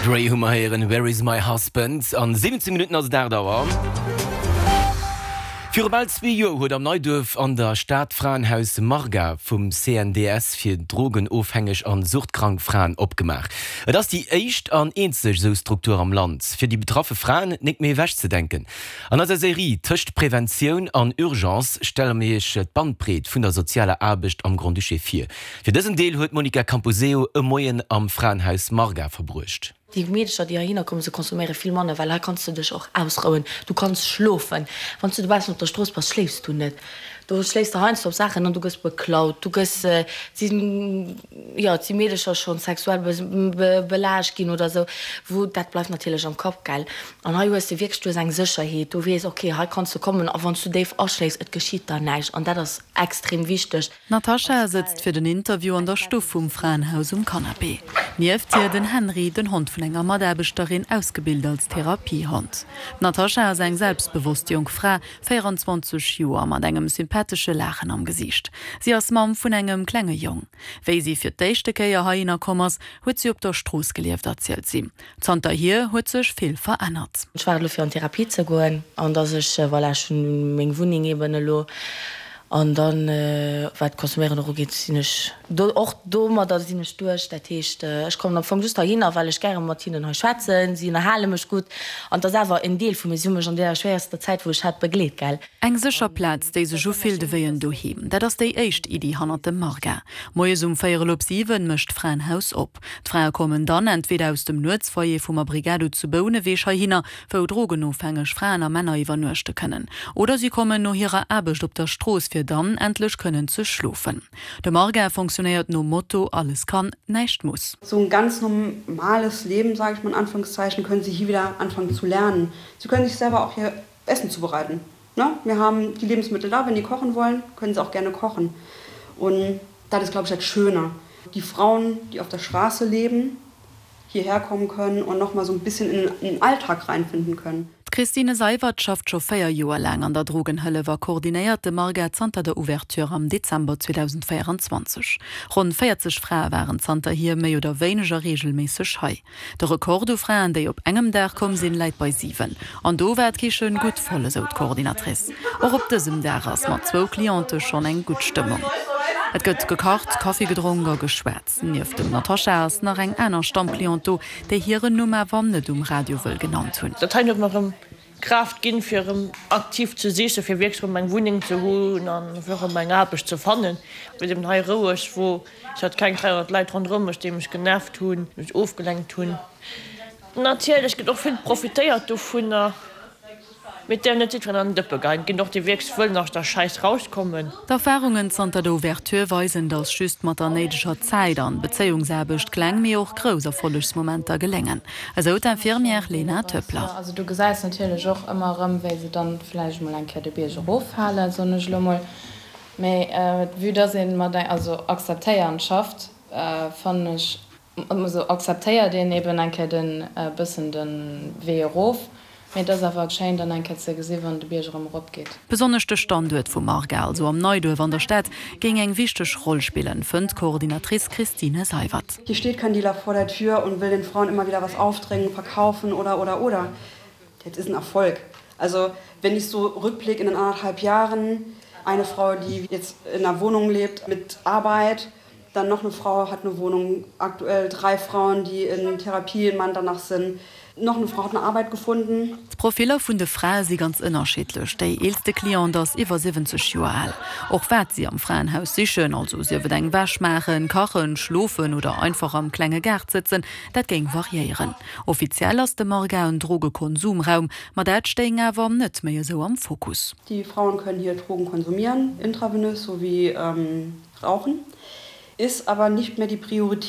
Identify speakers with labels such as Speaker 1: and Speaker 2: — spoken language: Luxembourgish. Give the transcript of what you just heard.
Speaker 1: Dre hu mer héieren, Where is my husband? An 17 Minutten ass et 8 Auer. Viru bal zwee Joer huet am Neiduerf an der Stad d'Fraenhaus Marga vum CNDS fir drogenofhängeg an suchtkrank Fraen opgemaach. Et ass déi éischt an eenzeg esou Struktur am Land, fir déi betraffe Fraen nik méi ewechzedenken. An eiser Serie Tëscht Preventioun an Urgence stelle mir iech d'Bandbreet vun der sozialer Aarbecht am Grand-Duché vir. Fir dësen Deel huet d'Monica Camposeo e Moien am Fraenhaus Marga verbruecht.
Speaker 2: Déi Meedercher, déi heihinner kommen, se consomméiere vill manner, well hei kanns de dech och ausrouen, du kanns schlofen. Wann s du dobaussen op der Strooss bass, schléifs du net. Do schléifs de heiansdo op Saachen an du gëss beklaut, du gëss, et sinn, jo, et si Meedercher schonn sexuell belaascht ginn oder esou, wou, dat bleift natierlech am Kapp, gell. An hei hues de wierklech, du hues eng Sécherheet, du weess, okay, hei kanns du kommen a wann s du déif aschléifs, et geschitt der näischt an dat ass extrem wichteg.
Speaker 3: D'Natasha sëtzt fir den Interview an der Stuff vum Fraenhaus um Canapé. Nieft hir den Henry, den Hond vun enger Mataarbechterin, ausgebilt als Therapiehond. D'Natasha ass eng selbstbewosst jonk Fra, 24 Joer, mat engem sympathesche Laachen am Gesiicht. Si ass Mamm vun engem klenge Jong. Wéi si fir d'éischte Kéier heihinner komm ass, huet si op der Strooss gelieft, erzielt si. Zanterhier huet sech vill verännert.
Speaker 2: Ech waarde lo fir an Therapie ze goen an dass ech, voilà, ech hunn meng Wunneng eben elo an dann, wat d'Consomméieren och ugeet, sinn ech do, och domadder sinn ech duerch. Dat heescht, ech kommen am Fong just heihinner, well ech gäre mat hinnen hei schwätzen, si ënnerhale mech gutt an et ass awer en Deel vu mir. Si hu mech an deeër schwéierster Zäit, wou ech hat, begleet, gell.
Speaker 3: Eng sécher Plaz, déi sech ufillt ewéi en Doheem, dat ass déi éischt Iddi hannert dem Marga. Moies um véierel op 7 mécht d'Fraenhaus op. D'Frae kommen dann entweder aus dem Nuetsfoyer vum Abrigado zu Bouneweg heihinner, wou drogenofhängeg Fraen a Männer iwwernuechte kënnen, oder si kommen no hirer Aarbecht op der Strooss, fir dann endlech kënnen ze schlofen. De Marga fonctionnéiert nom Motto Alles kann, näischt muss.
Speaker 4: So ein ganz normales Leben, sage ich mal in Anführungszeichen, können sie hier wieder anfangen zu lernen. Sie können sich selber auch hier Essen zubereiten. Ne? Wir haben die Lebensmittel da, wenn die kochen wollen, können sie auch gerne kochen. Und das ist, glaube ich, das Schöne. Die Frauen, die auf der Straße leben, hierher kommen können und noch mal so ein bisschen in den Alltag reinfinden können.
Speaker 3: D'Christine Seiwert schafft scho 4 Joer laang an der Drogenhëllef a koordinéiert de Marga zanter der Ouverture am Dezember 2024. Ronn 40 Frae waren zanterhier méi oder wéineger reegelméisseg hei. De Rekord u Fraen, déi op engem Dag komm sinn, läit bei 7. An do war d'Kichen gutt voll, esou d'Coordinatrice. Och op dësem Dag ass mat zwou Cliente schonn eng gutt Stëmmung. Et gëtt gekacht, Kaffi gedronk a geschwat. Nieft dem Natascha ass nach eng aner Stammcliente do, déi hiren Numm awer net um Radio wëll genannt hunn.
Speaker 5: Dat hei huet mer erëm Kraaft ginn, fir erëm aktiv ze sichen, fir wierklech erëm eng Wunneng ze hunn an fir erëm eng Aarbecht ze fannen, wou et eben hei roueg wor. Ech hat keng 300 Leit ronderëm mech, déi mech genervt hunn, mech ofgelenkt hunn. Natierlech gëtt och vill profitéiert dovunner. Mee et däerf net jiddwereen an den Dëppe geien. Et ginn och déi wierklech wëllen aus der Schäiss rauskommen.
Speaker 3: D'Erfarungen zanter der Ouverture weisen, dass just mat der néideger Zäit an Bezéiungsaarbecht kleng, mee och grouss Erfollegsmomenter geléngen, esou d'Infirmière Lena Töppler.
Speaker 6: Also du gesäis natierlech och ëmmer erëm, wéi se dann vläicht emol eng Kéier de Bierg eroffalen, soen ech elo mol. Mee vue dass ee mat eng, also akzeptéiernd schafft, fannen ech, Also akzeptéiert een eben eng Kéier den bëssen den Wee erof, mee et ass awer schéin dann eng Kéier ze gesi wann de Bierg erëm erop geet.
Speaker 3: Besonnesch de Standuert vu Marga, also am Neiduerf an der Stad, géing eng wichteg Roll spillen, fënnt d'Coordinatrice Christine Seiwert.
Speaker 4: Hier steht kein Dealer vor der Tür und will den Frauen immer wieder was aufdrängen, verkaufen oder oder oder. Das ist ein Erfolg. Also wenn ich so rückblick in den anderthalb Jahren, eine Frau, die jetzt in einer Wohnung lebt mit Arbeit, Dann noch eine Frau hat eine Wohnung, aktuell drei Frauen, die in Therapie in Manternach sind. Noch eine Frau hat eine Arbeit gefunden.
Speaker 3: D'Profiller vun de Frae si ganz ënnerschiddlech. Déi eelste Cliente ass iwwer 70 Joer al. Och wat si am Fraenhaus sichen, also sief et eng Wäsch maachen, kachen, schlofen oder einfach am klenge Gaart sëtzen, dat géing variéieren. Offiziell ass de Marga en Drogekonsumraum, ma dat stéing awer net méi esou am Fokus.
Speaker 4: Die Frauen können hier Drogen konsumieren, intravenös sowie rauchen, ist aber nicht mehr die Priorität.